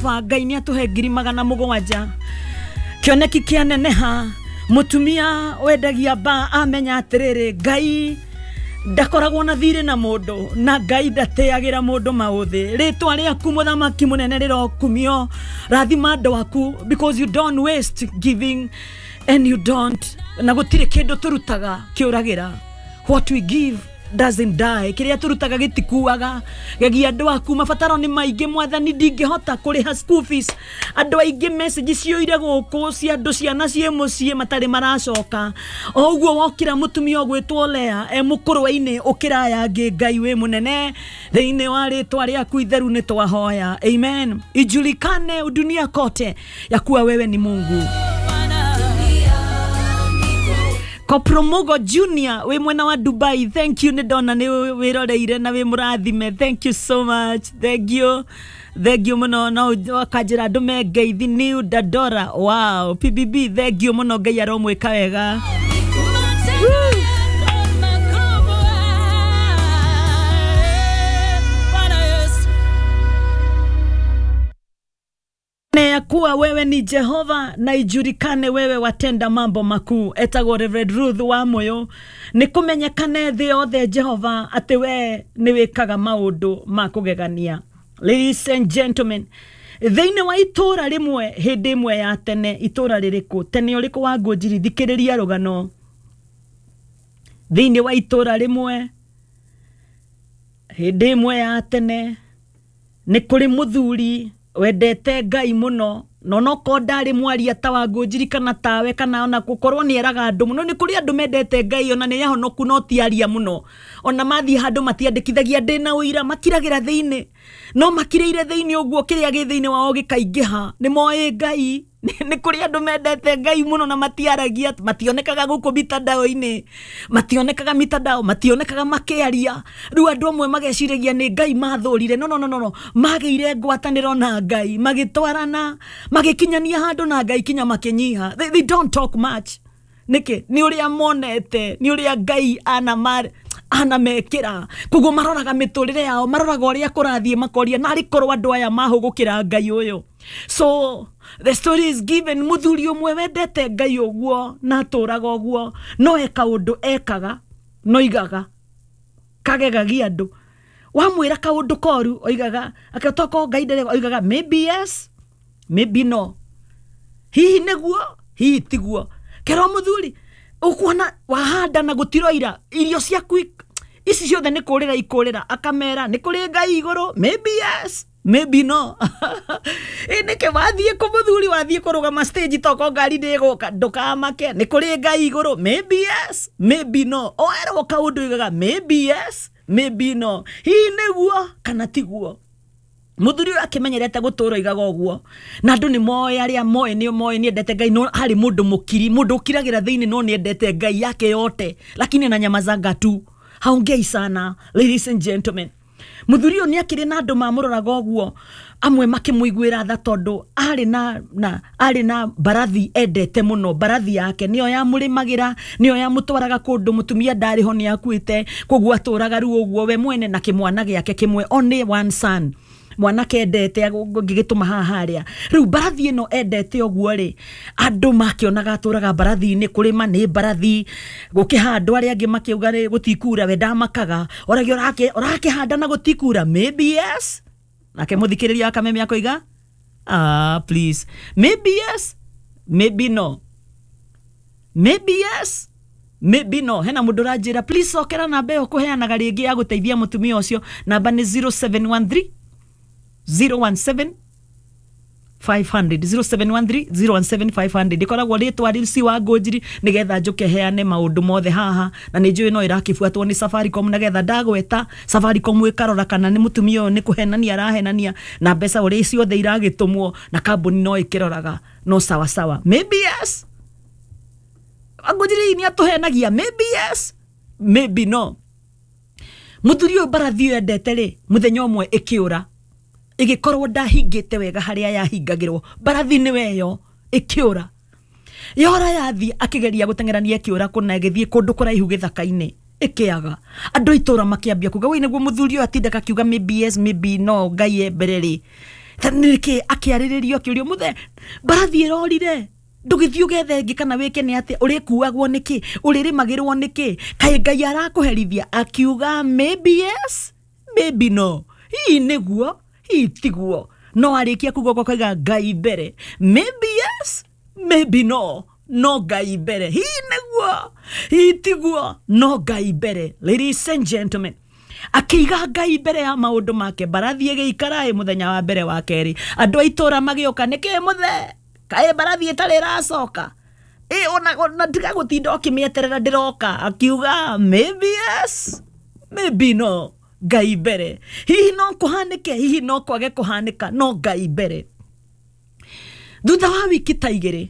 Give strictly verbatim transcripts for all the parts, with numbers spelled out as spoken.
Ngai nĩ atũhe ngiri magana mũgwanja. Kĩoneki kĩaneneha, mũtumia wendagia ba amenya atĩrĩrĩ, Ngai ndakoragwo na thirĩ na mũndũ na Ngai ndateagĩra mũndũ maũthĩ. Rĩtwa rĩaku mũthamaki mũnene rĩrokumio. Rathima andũ aku because you don't waste giving and you don't, na gũtirĩ kĩndũ tũrutaga kĩũragĩra. What we give doesn't die. Kĩrĩa tũrutaga gĩtikuaga. Gegia andũ aku, mabataro nĩ maingĩ mwathani, ndingĩhota kũrĩha school fees. Andũ aingĩ message ciyũire gũkũ cia andũ ciana ciĩ mũciĩ matarĩ maracoka. O ũguo wokĩra mũtumia ũgwĩtwo Lea e mũkũrwe-inĩ, ũkĩra aya angĩ. Ngai wĩ mũnene, thĩinĩ wa rĩtwa rĩaku itheru nĩ twahoya, amen. Ijulikane dunia kote ya kuwa wewe ni Mungu. Kopromogo Junior wĩ mwena wa Dubai, thank you, nĩ ndona nĩ wĩroreire na wĩ mũrathime. Thank you so much, thank you, thank you mũno. No wakanjĩra ndũme ngeithi New Dandora. Wow, P B B, thank you mũno, Ngai aromwĩka wega. Matendo yako makubwa, Bwana Yesu. Ya kuwa wewe ni Jehova na ijulikane wewe watenda mambo makuu. Etagwo Reverend Ruth wa Moyo. Nĩ kũmenyekane thĩ yothe Jehova atĩ we nĩ wĩkaga maũndũ ma kũgegania. Ladies and gentlemen, thĩinĩ wa itũra rĩmwe hĩndĩ ĩmwe ya tene, itũra rĩrĩkũ tene ũrĩkũ wa Ngũnjiri, thikĩrĩria rũgano. Thĩinĩ wa itũra rĩmwe hĩndĩ ĩmwe ya tene, nĩ kũrĩ mũthuri wendete Ngai mũno, na onokorwo ndarĩ mwaria ta wa Ngũnjiri kana tawe, kana ona gũkorwo nĩ eraga andũ mũno. Nĩ kũrĩ andũ mendete Ngai ona nĩ ahonoku no ti aria mũno, ona mathiĩ handũ matiandĩkithagia ndĩna ũira, makiragĩra thĩinĩ, no makirĩire thĩinĩ ũguo kĩrĩa gĩ thĩinĩ wao gĩkaingĩha. Nĩ moĩ Ngai. Nĩ kũrĩ andũ mendete Ngai mũno na matiaragia, mationekaga gũkũ mitandao-inĩ, mationekaga mitandao, mationekaga makĩaria. Rĩu andũ amwe mageciragia nĩ Ngai mathũrire. No, no, no, no, no. Magĩire ngwatanĩro na Ngai, magĩtwarana, magĩkinyania handũ na Ngai kinya makĩnyiha. they, they don't talk much. Nĩkĩ? Nĩ ũrĩa monete, nĩ ũrĩa Ngai anama anamekĩra. Koguo maroraga mĩtũrĩre yao, maroraga ũrĩa kũrathiĩ, makoria narĩ korwo andũ aya mahũgũkĩra Ngai ũyũ. So the story is given, mũthuri ũmwe wendete Ngai ũguo na atũraga ũguo, no e kaũndũ ekaga no igaga kagegagia andũ. Wamwĩra kaũndũ koru, oigaga akĩtoko Ngai ndarega, oigaga maybe yes, maybe no, hihi nĩguo, hihi tiguo. Kerwo mũthuri, ũkuona wahanda na gũtiroira, irio ciaku ik- ici ciothe nĩ kũrĩra ikũrĩra. Akamera nĩ kũrĩ Ngai igũrũ, maybe yes, maybe no. Ĩ nĩkĩ wathiĩ kũ mũthuri, wathiĩ kũrũgama stage toko ngari ndĩgũka? Ndũkamake, nĩ kũrĩ Ngai igũrũ, maybe yes, maybe no. Oerwo kaũndũ igaga maybe yes, maybe no, hihi nĩguo kana tiguo. Muthuri ũyũ akĩmenyerete gũtũra igaga ũguo, na andũ nĩ moĩ, arĩa moĩ nĩ moĩ nĩ endete Ngai, no harĩ mũndũ mũkiri, mũndũ ũkiragĩra thĩinĩ, no nĩ endete Ngai yake yote, lakini na nyamazanga tu, haongei sana. Ladies and gentlemen, muthuri ũyũ nĩ akĩrĩ na andũ mamũroraga ũguo, amwe makĩmũiguĩra tha tondũ arĩ na, na arĩ na mbarathi endete mũno. Mbarathi yake nĩyo yamũrĩmagĩra, nĩyo yamũtwaraga kũndũ. Mũtumia ndarĩ ho, nĩ akuĩte, koguo atũraga rĩu ũguo we mwene na kĩmwana gĩake kĩmwe, only one son, mwanake endete ngĩgĩtũma haha harĩa. Rĩu mbarathi ĩno endete ũguo rĩ, andũ makĩonaga atũraga mbarathi-inĩ, kũrĩma nĩ mbarathi, gũkĩhandwo, arĩa angĩ makiuga rĩ gũtikura, we ndamakaga, oragia ũrake ũrakĩhanda na gũtikura? Maybe yes. Nake mũthikĩrĩria wa Kameme akoiga, "Ah, please, maybe yes, maybe no, maybe yes, maybe no." Hena mũndũ ũranjĩra, please cokera namba ĩyo kũheanaga rĩngĩ ya gũteithia mũtumia ũcio. Namba nĩ zero seven one three zero one seven five hundred, zero seven one three zero one seven five hundred. Ĩkoragwo rĩtwa rĩci wa Ngũnjiri, nĩgetha njũke heane maũndũ mothe haha, na nĩ njũĩ no ĩrakĩbuatwo nĩ Safaricom, nĩgetha ndagweta Safaricom ĩkarora kana nĩ mũtumia ũyũ nĩ kũhenania arahenania na mbeca ũrĩa ciothe iragĩtũmwo, na kambuni no ĩkĩroraga. No sawa sawa, maybe yes, Ngũnjiri nĩ atũhenagia, maybe yes, maybe no. Mũthuri ũyũ mbarathi ĩyo endete rĩ, mũthenya ũmwe ĩkĩũra, ĩgĩkorwo ndahingĩte wega harĩa yahingagĩrwo. Mbarathi nĩ weyo ĩkĩũra, yora yathiĩ, akĩgeria gũteng'erania, ĩkĩũra kũna, ĩgĩthiĩ kũndũ kũraihu gĩthaka-inĩ, ĩkĩaga. Andũ a itũra makĩambia kuga, woi, nĩguo mũthuri ũyũ atindaga akiuga maybe yes, maybe no, Ngai e mbere rĩ. Nĩkĩ akĩarĩrĩrio akĩũrio mũthe mbarathi ĩrorire ndũgĩthiĩ ũgethe ĩngĩ kana wĩke nĩ atĩa ũrĩkuagwo nĩkĩ ũrĩrĩmagĩrwo nĩkĩ kaĩ Ngai arakũherithia akiuga maybe yes maybe no hihi nĩguo hihi tiguo no arĩkia kuga ũguo akauga Ngai mbere maybe yes maybe no no Ngai mbere hihi nĩguo hihi tiguo no Ngai mbere. Ladies and gentlemen, akĩiga Ngai mbere ya maũndũ make mbarathi ĩgĩikara ĩ mũthenya wa mbere wa kerĩ andũ a itũra magĩũka nĩkĩ mũthe kaĩ mbarathi ĩtarĩ ĩracoka ĩ ona ona tiga gũtinda ũkĩmĩeterera ndĩroka akiuga maybe yes maybe no Ngai mbere hihi no kũhanĩke hihi no kwage kũhanĩka no Ngai mbere. Thutha wa wiki ta igĩrĩ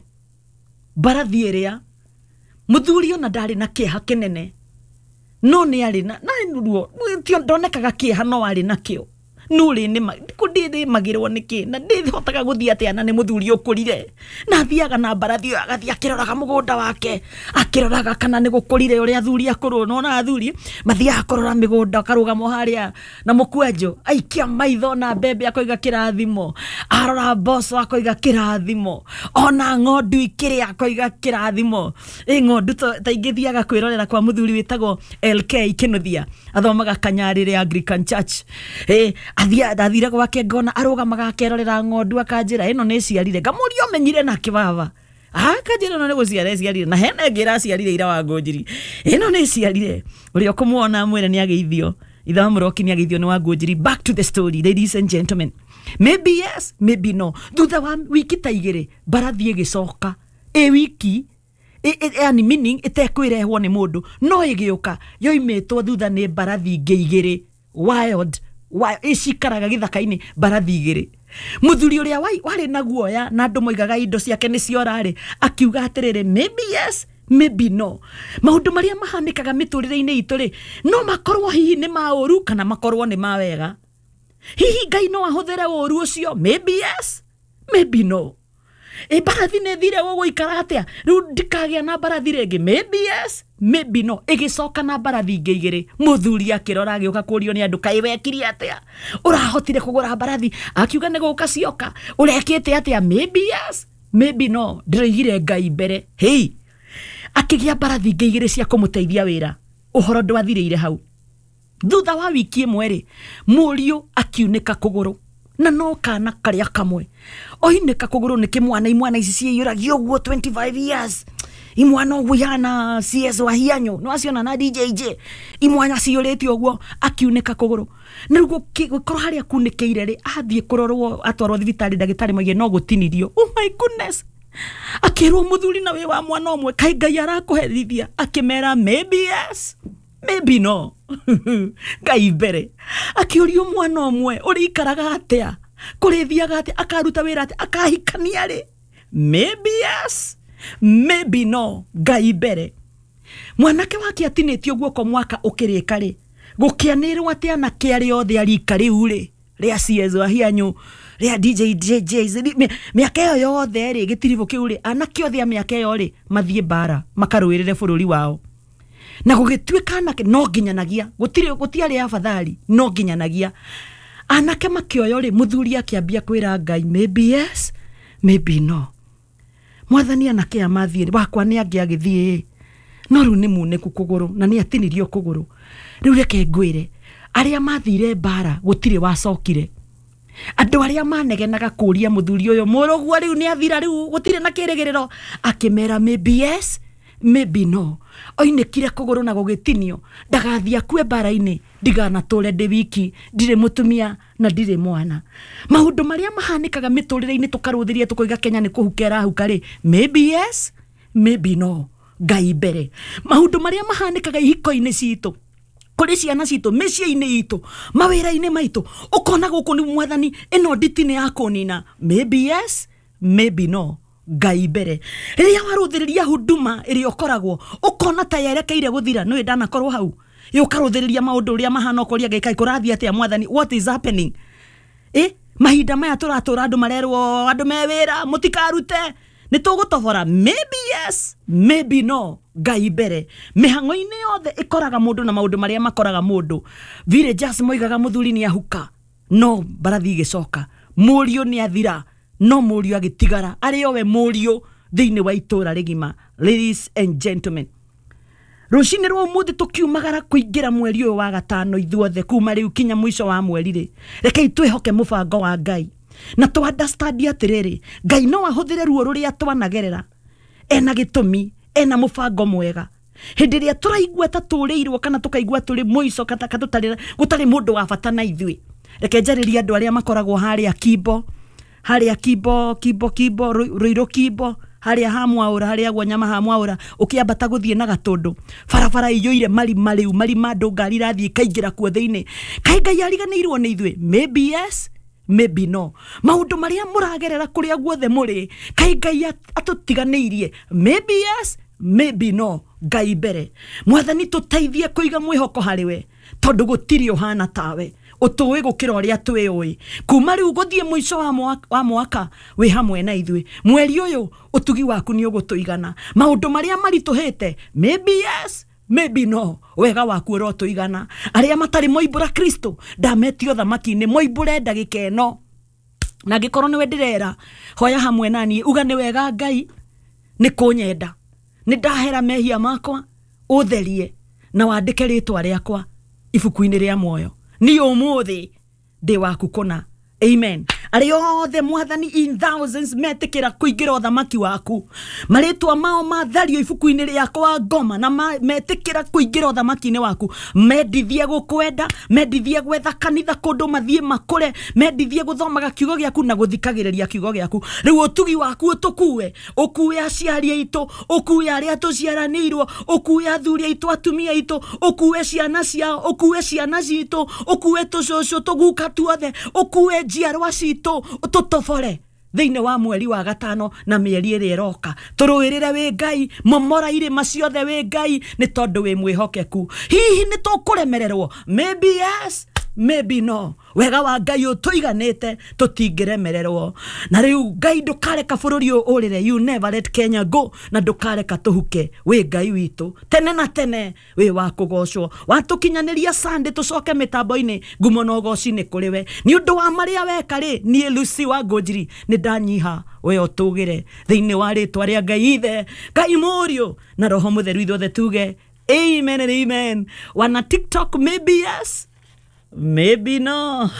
mbarathi ĩrĩa mũthuri ona ndarĩ na kĩeha kĩnene no nĩ arĩ na na ruo ndonekaga kĩeha no arĩ nakĩo nũrĩ ndĩrĩmagĩrwo nĩkĩ na ndĩhotaga gũthiĩ atĩa na nĩ mũthuri ũkũrire na athiaga na mbarathi ĩyo agathiĩ akĩroraga mũgũnda wake akĩroraga kana nĩ gũkũrire ũrĩa athuri akũrũ nona athuri mathiaga kũrora mĩgũnda akarũgama harĩa na mũkwanjũ aikia maitho na mbembe akoiga kĩrathimo arora mboco akoiga kĩrathimo ona ng'ondu ikĩrĩa akoiga kĩrathimo ĩ ng'ondu ta ingĩ thiaga kwĩrorera kwa mũthuri wĩtagwo L K Kĩnuthia athomaga Kanyarĩrĩ Anglican Church ĩ athire gwake ngona arũgamaga akerorera ng'ondu akanjĩra ĩno nĩ ciarire ngamũria ũmenyire na kĩbaba akanjĩra ĩno nĩ gũciara ĩciarire na hena ĩngĩ ĩraciarire ira wa Ngũnjiri ĩno nĩ ĩciarire ũrĩa ũkũmuona mwĩre nĩ ageithio ithe wa mũroki nĩ ageithio nĩ wa Ngũnjiri. Back to the story, ladies and gentlemen, maybe yes maybe no. Thutha wa wiki ta igĩrĩ mbarathi ĩgĩcoka ĩ wiki yani meaning ĩtekwĩrehwo nĩ mũndũ no ĩgĩũka yoimĩtwo thutha nĩ mbarathi ingĩ igĩrĩ wild icikaraga gĩthaka-inĩ mbarathi igĩrĩ mũthuri ũrĩa warĩ na guoya na andũ moigaga indo ciake nĩ ciorarĩ akiuga atĩrĩrĩ maybe yes maybe no. Maũndũ marĩa mahanĩkaga mĩtũrĩre-inĩ itũ rĩ no makorwo hihi nĩ ma ũru kana makorwo nĩ ma wega hihi Ngai no ahũthĩre ũru ũcio maybe yes maybe no. Ĩ mbarathi nĩ thire gũgũikara atĩa rĩu ndikagĩa na mbarathi rĩngĩ maybe yes maybe no. Ĩgĩcoka na mbarathi ingĩ igĩrĩ mũthuri akĩrora agĩũka kũrio nĩ andũ kaĩ wekire atĩa ũrahotire kũgũra mbarathi akiuga nĩ gũka cioka ũrekĩte atĩa maybe yes maybe no ndĩroigire Ngai mbere hei akĩgĩa mbarathi ingĩ igĩrĩ cia kũmũteithia wĩra ũhoro ndwathirĩire hau. Thutha wa wiki ĩmwe rĩ mũriũ akiunĩka kũgũrũ na no kana karĩa kamwe oinĩka kũgũrũ nĩ kĩmwana imwana ici ciĩyũragia ũguo twenty-five years imwana ũguo ihana C S wa hianyo no aciona na D J J imwana ciyũrĩte ũguo akiunĩka kũgũrũ na rĩu gũkorwo harĩa kunĩkĩire rĩ athiĩ kũrorwo atwarwo thibitarĩ ndagĩtarĩ moige no gũtinirio. Oh my goodness akĩrwo mũthuri na wĩ wa mwana ũmwe kaĩ Ngai arakũherithia akĩmera maybe yes maybe no Ngai mbere akĩũrio mwana ũmwe ũrĩikaraga atĩa kũrĩthiaga atĩa akaruta wĩra atĩa akahikania rĩ maybe yes maybe no Ngai mbere. Mwanake wake atinĩtio guoko mwaka ũkĩrĩka rĩ gũkĩanĩrwo atĩ anake arĩa othe a rika rĩu rĩ rĩa C S wa hianyu rĩa D J J J mĩaka ĩyo yothe rĩ gĩtiribũ kĩu rĩ anake othe a mĩaka ĩyo rĩ mathiĩ mbara makarũĩrĩre bũrũri wao na gũgĩtuĩka anake no nginyanagia gũtirĩ gũtiarĩ afadhali no nginyanagia anake makĩoyo rĩ mũthuri akĩambia kwĩra Ngai maybe yes maybe no mwathani anake aya mathiĩ wakwa nĩ angĩ agĩthiĩ no rĩu nĩ munĩku kũgũrũ na nĩ atinirio kũgũrũ rĩu reke ngwĩre arĩa mathire mbara gũtirĩ wacokire andũ arĩa manegenaga kũria mũthuri ũyũ mũrũguo rĩu nĩ athira rĩu gũtirĩ na kĩrĩgĩrĩro akĩmera maybe yes maybe no oinĩkire kũgũrũ na gũgĩtinio ndagathiĩ akue mbara-inĩ ndiganatũre ndĩ wiki ndirĩ mũtumia na ndirĩ mwana. Maũndũ marĩa mahanĩkaga mĩtũrĩre-inĩ tũkarũthĩria tũkoiga Kenya nĩ kũhuka ĩrahuka rĩ maybe yes maybe no Ngai mbere. Maũndũ marĩa mahanĩkaga ihiko-inĩ citũ kũrĩ ciana citũ mĩciĩ-inĩ itũ mawĩra-inĩ maitũ ũkona gũkũ nĩ mwathani ĩno nditi nĩ ya kũnina maybe yes maybe no Ngai mbere. Rĩrĩa warũthĩrĩria huduma ĩrĩa ũkoragwo ũkona ta yerekeire gũthira nĩ ndanakorwo hau ũkarũthĩrĩria maũndũ ũrĩa mahana ũkoria Ngai kaĩ kũrathiĩ atĩa mwathani what is happening ĩ mahinda maya tũratũra andũ marerwo andũ me wĩra mũtikarute nĩ tũgũtobora maybe yes maybe no Ngai mbere. Mĩhang'o-inĩ yothe ĩkoraga mũndũ na maũndũ marĩa makoraga mũndũ villagers moigaga mũthuri nĩ ahuka no mbarathi ĩgĩcoka Mũriũ nĩ athira no mũriũ agĩtigara arĩ owe mũriũ thĩinĩ wa itũra rĩgima. Ladies and gentlemen, rũcinĩ rwa ũmũthĩ tũkiumagara kũingĩra mweri ũyũ wa gatano ithuothe kuma rĩu kinya mũico wa mweri rĩ, rekei twĩhoke mũbango wa Ngai na tũ understand atĩrĩrĩ, Ngai no ahũthĩre ruo rũrĩa twanagerera ena gĩtũmi, ena mũbango mwega. Hĩndĩ ĩrĩa tũraigua ta tũrĩirwo kana tũkaigua tũrĩ mũico kana tũtarĩ gũtarĩ mũndũ wa bata na ithuĩ, reke njarĩrie andũ arĩa makoragwo harĩa Kimbo, harĩa Kimbo, Kimbo, Kimbo, Ruiru Kimbo, harĩa ha Mwaũra, harĩa gwa nyama ha Mwaũra, ũkĩambata gũthiĩ na Gatũndũ, barabara iyũire marima rĩu, marima andũ ngari irathiĩ ikaingĩra kuo thĩinĩ. Kaĩ Ngai ariganĩirwo nĩ ithuĩ? Maybe yes, maybe no. Maũndũ marĩa mũragerera kũrĩa guothe mũrĩ, kaĩ Ngai atũtiganĩirie? Maybe yes, maybe no. Ngai mbere. Mwathani tũteithie kũiga mwĩhoko harĩ we, tondũ gũtirĩ ũhana tawe, ũtũĩ gũkĩra ũrĩa twĩũĩ. Kuma rĩu gũthiĩ mũico wa mwaka, wa mwaka wĩ hamwe na ithuĩ. Mweri ũyũ ũtugi waku nĩ ũgũtũigana. Maũndũ marĩa maritũhĩte, maybe yes, maybe no, wega waku ũrotũigana. Arĩa matarĩ moimbũra Kristo, ndametio thamaki-inĩ, moimbũre ndagĩka ĩno. Na angĩkorwo nĩwe ndĩrera, hoya hamwe na niĩ, uga nĩ wega Ngai nĩ kũnyenda, nĩ ndahera mehia makwa, ũtherie na wandĩke rĩtwa rĩakwa ibuku-inĩ rĩa muoyo. Niĩ ũmũthĩ ndĩ waku kũna. Amen. Arĩa othe Mwathani in thousands metĩkĩra kũingĩra ũthamaki waku, marĩtwa mao mathario ibuku-inĩ rĩakwa ngoma, na metĩkĩra kũingĩra ũthamaki-inĩ waku, mendithie gũkwenda, mendithie gwetha kanitha kũndũ mathiĩ makũre, mendithie gũthomaga kiugo gĩaku na gũthikagĩrĩria kiugo gĩaku. Rĩu ũtugi waku ũtũkue, ũkue aciari aitũ, ũkue arĩa tũciaranĩirwo, ũkue athuri aitũ, atumia aitũ, ũkue ciana ciao, ũkue ciana citũ, ũkue tũcũcũ tũguka tuothe, ũkue njiarwa citũ, tũtobore thĩinĩ wa mweri wa gatano na mĩeri ĩrĩa ĩroka. Tũrũĩrĩre wĩ Ngai, momora irĩma ciothe wĩ Ngai, nĩ tondũ wĩ mwĩhokeku. Hihi nĩ tũkũremererwo? Maybe yes, maybe no. Wega wa Ngai ũtũiganĩte, tũtingĩremererwo. Na rĩu Ngai ndũkareka bũrũri ũyũ ũrĩre, you never let Kenya go, na ndũkareka tũhuke. Wĩ Ngai witũ tene na tene, wĩ wa kũgocwo. Watũkinyanĩria Sunday tũcoke mĩtambo-inĩ, ngumo na ũgoci nĩ kũrĩ we. Nĩ ũndũ wa marĩa weka rĩ, niĩ Lucy wa Ngũnjiri nĩ ndanyiha, we ũtũgĩre thĩinĩ wa rĩtwa rĩa Ngai Ithe, Ngai Mũriũ na Roho Mũtheru, ithuothe tuge amen and amen. Wana TikTok, maybe yes, maybe no.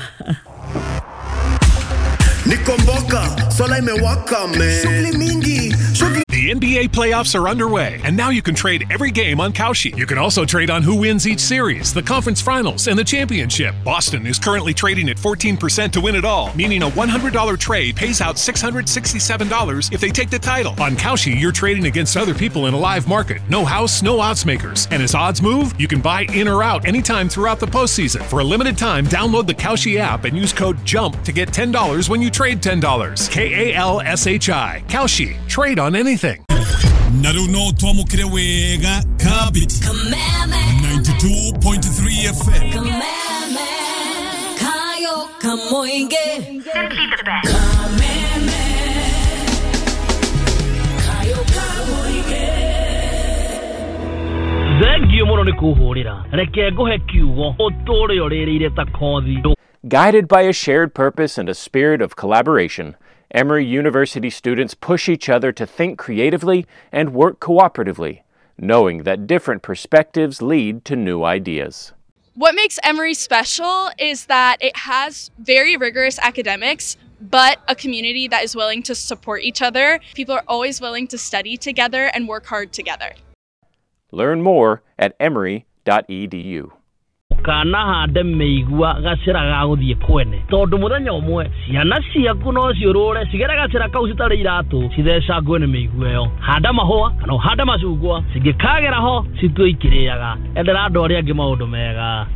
Nikomboka, sola imewaka man. Shughuli mingi, shughuli. The N B A playoffs are underway, and now you can trade every game on Kalshi. You can also trade on who wins each series, the conference finals, and the championship. Boston is currently trading at fourteen percent to win it all, meaning a one hundred dollar trade pays out six hundred sixty-seven dollars if they take the title. On Kalshi, you're trading against other people in a live market. No house, no odds makers. And as odds move, you can buy in or out anytime throughout the postseason. For a limited time, download the Kalshi app and use code JUMP to get ten dollars when you trade ten dollars. K A L S H I. Kalshi. Trade on anything. Naruno twamukire wega kabiti ninety-two point three F M. Kameme kayo kamoinge. Simply the best. Kameme kayo kamoinge. Thengio muno ni kuhurira. Reke nguhe kiugo uture uririire ta kothi. Guided by a shared purpose and a spirit of collaboration, Emory University students push each other to think creatively and work cooperatively, knowing that different perspectives lead to new ideas. What makes Emory special is that it has very rigorous academics, but a community that is willing to support each other. People are always willing to study together and work hard together. Learn more at emory dot e d u. Kana hande meigua gacira ga guthie kwene tondu muthenya umwe ciana ciaku no ciurure cigere gacira kau citari iratu cithecangwe ni meigua iyo. Handa mahua kana handa macungwa cingikagera ho citue ikiriaga. Endera andu aria angi maundu mega.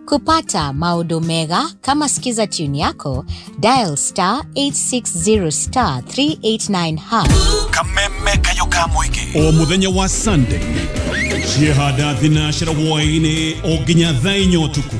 Kupata maundu mega kama sikiza tune yako, dial star eight six zero star three eight nine hash. Kameme kayo ka mwingi o muthenya wa Sunday ciehanda thinacera hwaini o nginya thaa inya utuku.